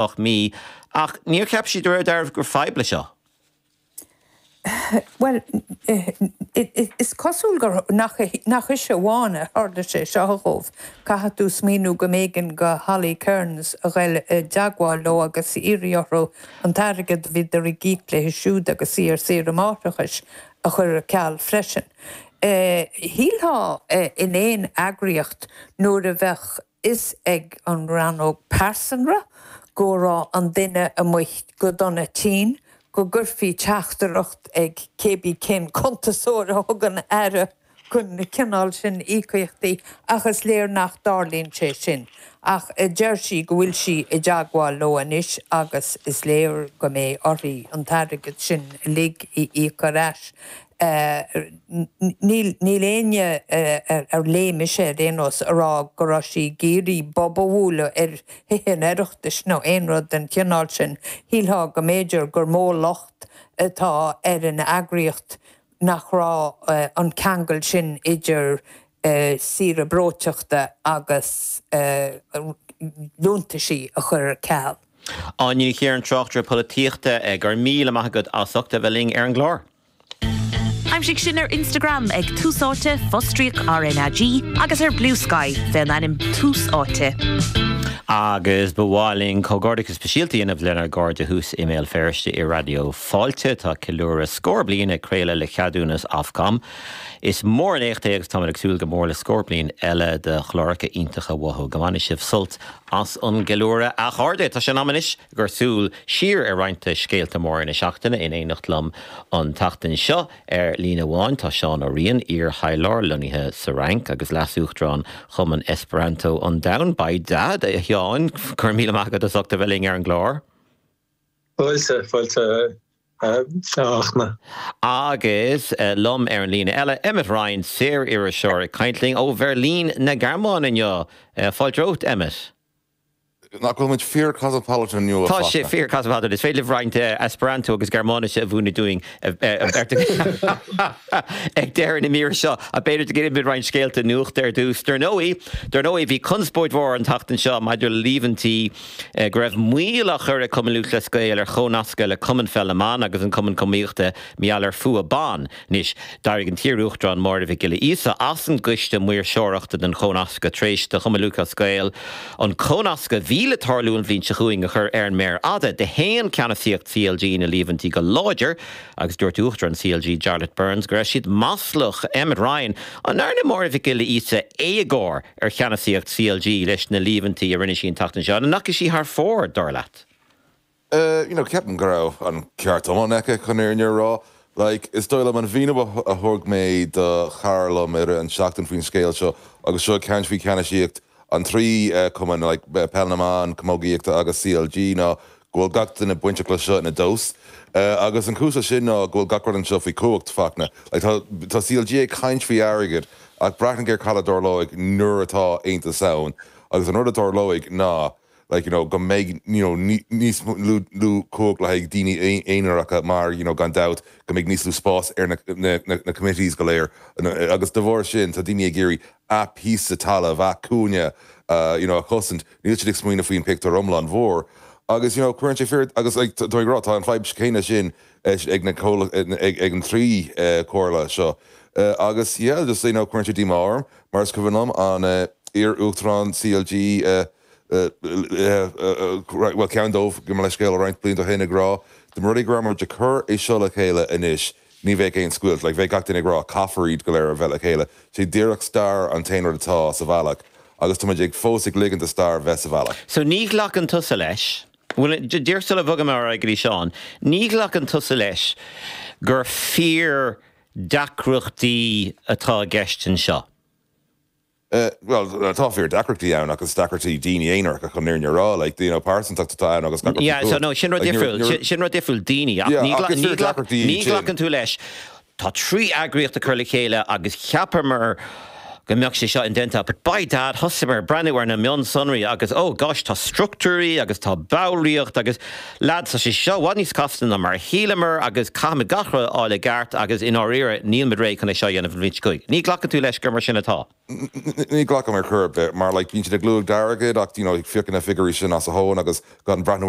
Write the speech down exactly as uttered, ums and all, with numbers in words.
ocht mí, ach níor cheap sí de réir dealraimh gur fadhb leis seo. Well, is cosúil gur nach ise amháin a tharla sé seo dhóibh. Caithfidh tú smaoineamh go mb'éigean do Holly Cairns a ghoil i dteagmháil leo agus iarraidh orthu an t-airgead a bhíodar ag íoc léi siúd agus í ar saoire máithreachais a chur ar ceal freisin. Shílfeá in aon eagraíocht nuair a bheadh fhios ag an rannóg pearsanra go raibh an duine amuigh go dona tinn, go gcuirfí teachtaireacht ag cébí cén cuntasóir a thugann aire chun na cineál sin íocaíochtaí, ach is léir nach dtarlaíonn sé sin. Ach deir sí go bhfuil sí i dteagmháil leo anois agus is léir go mbeidh uirthi an t-airgead sin uilig a íoc ar ais. Níl níl éinne ar léigh mise ar aon nós a rá go raibh sí ag iarraidh bob a bhualadh ar Thithe an Oireachtais nó aon rud den chineál sin. Shílfeá go mb'fhéidir gur mó locht atá ar an eagraíocht nach raibh an ceangal sin idir saoire breoiteachta agus liúntaisí a chur ar ceal. Áine Ní Chiaráin, tráchtaire polaitíochta, go raibh míle maith agat as ucht a bheith linn ar an gclár. Aimsigh sinn ar Instagram ag Tús Áite fostríoc R N A G agus ar Bluesky fén ainm Tús Áite. Agus ba mhaith linn comhghairdeachas speisialta a dhéanamh lenár gcairde thuas i mBéal Feirste i Raidió Fáilte. Tá ceiliúradh scór bliain ag craoladh le ceadúnas Ofcom. Is mór an éacht é agus táimid ag súil go mór le scór bliain eile de chláracha iontacha uathu. Go mbaine sibh sult as an gceiliúradh, a chairde. Tá sé in am anois gur súil siar ar roinnt scéalta móra na seachtaine. In éineacht liom an tseachtain seo ar líne amháin tá Seán Ó Riain, iar-thaidhleoir lonnaithe sa Fhrainc agus leas-uachtarán Chumann Esperanto an Domhain. Beidh a Sheáin, go raibh míle maith agat as ucht a bheith linn ar an gclár. Fáilte, fáilte a Fhachtna. Agus liom ar an líne eile, Emmet Ryan, saoririseoir ag caint linn ó Bheirlín na Gearmáine inniu. Fáilte romhat, Emmet. Nach bhfuil muid fíor cosmopolitan inniu? Tá sé fíor cosmopolitan. Is féidir roinnt Esperanto agus Gearmáinise a mhúineadh dúinn ag deireadh na míre seo. A b'fhéidir go gcuirfimid roinnt scéalta nuachta ar dtús. Dar ndóigh, dar ndóigh bhí conspóid mhór an tseachtain seo maidir le líomhaintí go raibh moill á chur ag Cumann Lúthchleas Gael ar chónascadh le Cumann Pheil na mBan agus an Cumann Iománaíochta mar gheall ar fhuath ban. Anois, d'éirigh an t-iar-uachtarán Máire Mhic Giolla Íosa as an gcoiste maoirseoireachta den chónascadh tar éis do Chumann Lúthchleas Gael an cónascadh a bhí le tarlú an bhliain seo chugainn a chur ar an méar fhada. Shéan ceannasaíocht C L G na líomhaintí go láidir agus dúirt uachtarán C L G Jarlath Burns go raibh siad maslach. Emmet Ryan, an ndearna Máire Mhic Giolla Íosa éagóir ar cheannasaíocht C L G leis na líomhaintí a rinne sí an tseachtain seo, an ndeachaigh sí thar fóir, dar leat? Uh, you know, ceapaim go raibh an ceart iomlán aici chun an fhírinne a rá. Like, is dóigh liom an míniú a thug mé do chara liom ar an seachtain faoin scéal seo agus seo cean faoi ceannasaíocht an trí uh, cumann, like, peil na mban, camógaíochta agus C L G, ná go bhfuil gach duine bainteach le seo ina dós. Uh, agus an chúis sin ná go bhfuil gach rud anseo faoi chumhacht, Fachtna. Like, tá, tá C L G ag caint faoi airgead ach breathnaigh ar cad a tharlóidh nuair atá aontas ann agus an rud a tharlóidh ná like, you know, go mbeidh you know, níos lú cumhacht le haghaidh daoine aonaracha mar you know, gan dabht go mbeidh níos lú spás ar na, na, na, na committees go léir agus de bharr sin tá daoine ag iarraidh a píosa talaimh, a cúinne uh, you know, a chosaint. Níl siad ag smaoineamh faoin pictiúr iomlán mhór. Agus you know, cuireann sé fíor agus, like, tá rá tá an fadhb céanna sin ag na ag, ag an trí uh, comhairle seo. Uh, agus yeah, just you know, cuireann sé díomá orm mar is cuimhin liom an uh, iar-uachtarán C L G uh, well, ceann dóibh go leis scéal roinnt blianta ó shin ag rá de rudaí gra mar de chur é seo le chéile anois ní bheidh aon scoilt, like, bheidh gach duine ag rá caithfear iad go léir a bheith le chéile. Sé díreach stair an t-aon rud atá sa bhealach agus tá ag fós ag ligint an stair bheith sa bhealach. So ní ghlacann tusa leis, Well, díreach sula bhfogaim ar go dtí Seán, ní ghlacann tusa leis gur fíor deacrachtaí atá i gceist anseo. Uh, well, tá fíor deacrachtaí ann agus deacrachtaí daoine aonaracha chun an fhírinne a rá, like, you know, pearsantacht atá ann agus Yeah, so no, sin rud difriúil, sin rud difriúil daoine ní ghlacann tú leis. Tá trí eagraíocht a chur le chéile agus cheapamar go mbeadh sé seo indéanta, but by dad thosaíomar breathnú ar na mionsonraí agus oh gosh tá struchtúirí agus tá ballraíocht agus lads tá sé seo i bhfad níos casta ná mar a shíleamar agus caithfimid gach rud a fháil i gceart agus i ndáiríre níl muid réidh chun é seo a dhéanamh an bhliain seo chugainn. Ní ghlacann tú leis gur mar sin atá. Ní ghlacaim ar chor ar bith mar like bíonn siad ag lua airgead ach you know féachann na figiúirí sin as a thóin agus gan breathnú ar